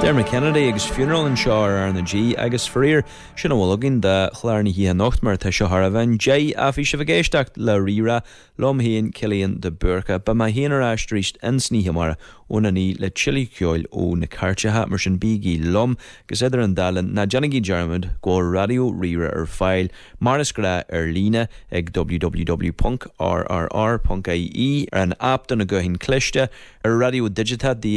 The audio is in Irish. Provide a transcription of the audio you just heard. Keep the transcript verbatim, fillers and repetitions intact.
Dermot Kennedy agus Funeral anseo ar R na G agus faraor sin a bhfuil againn de chlár na hoíche anocht mar tá seo thar a bheith deas a bhí sibh ag éisteacht le Rí-Rá liom féin Cillian de Búrca, Beidh mé féin ar ais arís insan oíche amárach óna naoi le tuilleadh ceoil ó na cairteacha mar sin bígí liom agus idir an dá linn ná déanaigí dearmad go bhfuil Raidió Rí-Rá ar fáil mar is gnách ar líne ag www.rrr.ie ar an app do na gutháin cliste ar raidió digiteach